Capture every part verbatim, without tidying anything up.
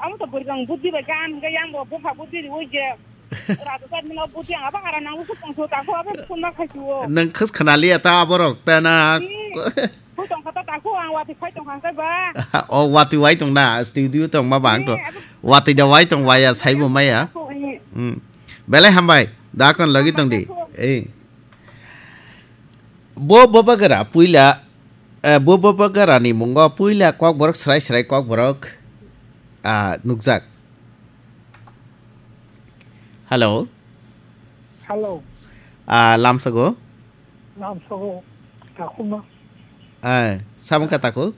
Amo to bwrwi bang buddi bai gan hwnkhe yang bo bupha buddi riwi je. Raja jat mino buddi ang abo hara nango khe tongso tako abo phone ma khaisuo. Nwng khwskhwna liya ta aborok ta na. Hmm. Khui tongkha ta tako ang watwi phai tongkha hwnkhe ba. O watwi wai tong na studio tong ma bang to. Hmm, abo watwi da wai tong waya saibo maya. Tako, hmm. Hmm. Belai hambai. Da kon logi tong di. Tako. Eh. Bo bobagra puila, eh, bo bobagra ni mungo puila kokborok srai srai kokborok, ah, nukjak. Hello. Hello. Ah, lamsago. Lamsago. Takhuma. Eh, samung ka taku?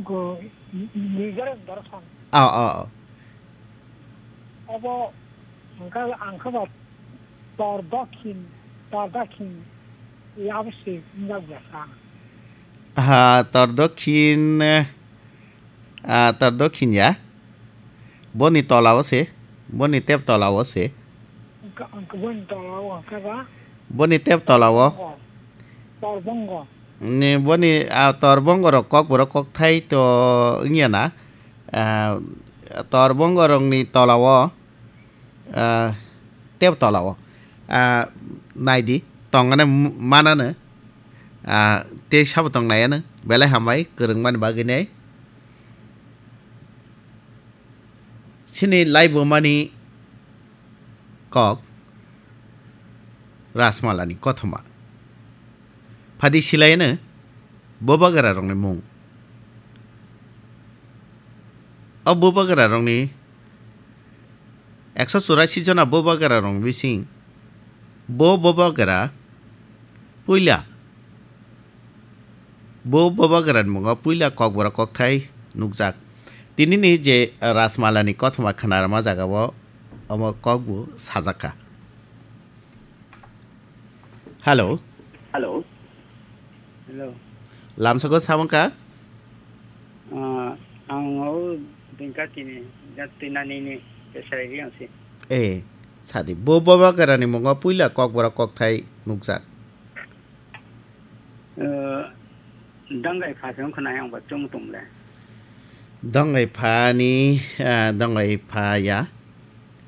Go, Nizar Darasan. Ah, ah, ah. Abo, angka, angka ba, Tor Dokhin, Tor Dokhin, ya abo se, nizar Darasan. Ha, Tor Dokhin, eh, ah, Tor Dokhin ya. Boni tola o se, boni tep tola o se. Angka, angka boni tola o, angka ba? Boni tep tola o. Bongo. Tor bongo. Ni boni, ah, tor bongo rok kok borok kok thai to wngya na. Ah, tor bongo rok ni tola o, ah, tep tola o. Ah, nai di, tong ani m-, mana no. Ah, tei sabo tong nai ano. Belai hambai, kwrwng mani bagwi nai. Chini laibumani kok Rajmalani kothoma. Phadi silaiyano bubagrarokni mung. O bubagrarokni ekso churasi jona bubagrarokni bising bo bubagra puila Bo bubagrani mungo puila kokborok kokthai nukjak. Tinini je Rajmalani kothoma khwnarma jagao omo kokbo sajakha. Hello. Hello. Hello. Lamsako samungkha? Ah, ang o dingka tini, jat tinanini, besai ri ang si. Eh, sadi. Bo bubagrani mungo puila kokborok kokthai nukjak. Eh, Dangai pha se wngkha na yang ba chwng tong le. Dangai pha ni, eh, Dangai pha ya.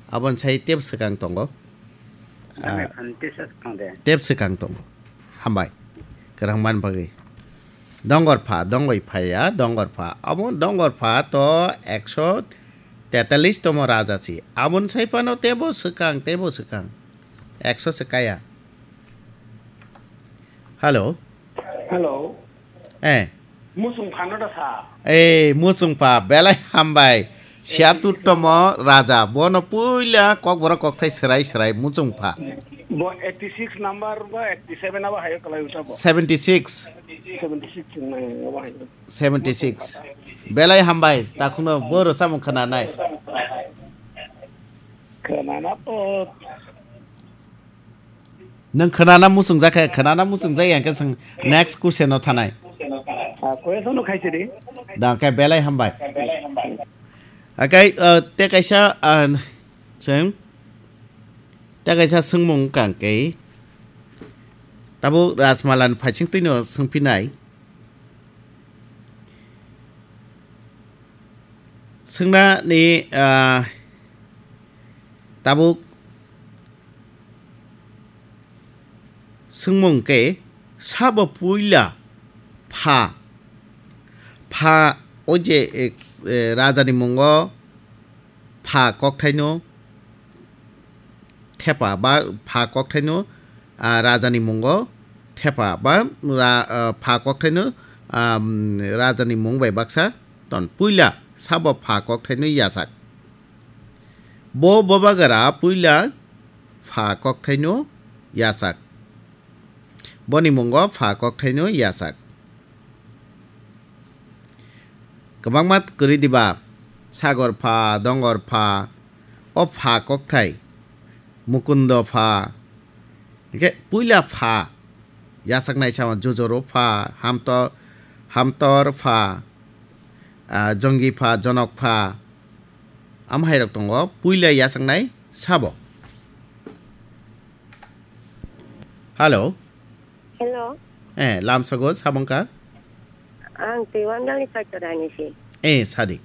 Aboni sai tep swkang tongo. Dangai Ah, pha ni tesa swkang de. Tep swkang tongo. Hambai. Kwrang man bagwi. Dongor pha, Dangai pha ya, Dongor pha. Abo Dongor pha to ekso tetalis tomo raja si. Aboni sai phano tebo swkang, tebo swkang. Ekso se kaya. Hello. Hello. Eh. Muchung phano da sa. Eh, muchung pha, belai hambai. Siatur tomo raja, bono puila kokborok kokthai serai serai muchung pha. Bo eighty six number ba eighty seven abo hayo kalai uta bo. Seventy six. Seventy six nai abo hayo. Seventy six. Belai hambai, takhwno bo rwchapmung khwnanai. Khwnana to. Nwng khwnana muchungjak khe, khwnana muchungjak ya khe chwng next question o thanai. Ah, question no khaisidi. Da khe belai hambai. Akai, uh, te kaisa, uh, chwng, te kaisa swngmung kang khe, tabuk Rajmalan phaising twino swngphinai. Swngna ni, ah, tabuk swngmung khe sabo puila pha, pha o je, eh, eh, raja ni mungo pha kokthaino thepa ba pha kokthaino, ah, rajani mungo thepa ba ra-, ah, pha kokthaino, ah, rajani mung bai baksa ton puila sabo pha kokthaino yachak. Bo bobagra puila pha kokthaino yachak. Boni mungo pha kokthaino yachak. Kwbangma kwrwi diba, Sagor pha, Dongor pha, o pha kokthai, Mukundo pha, hwnkhe puila pha, yachaknai sama Jujoro pha, Hamto-, Hamtor pha, ah, Jongi pha, Jonok pha, amhairok tongo, puila yachaknai sabo. Hello. Hello. Eh, lamsago sabongkha? Ang tei Wandalni Paitorani si. Eh, sadi.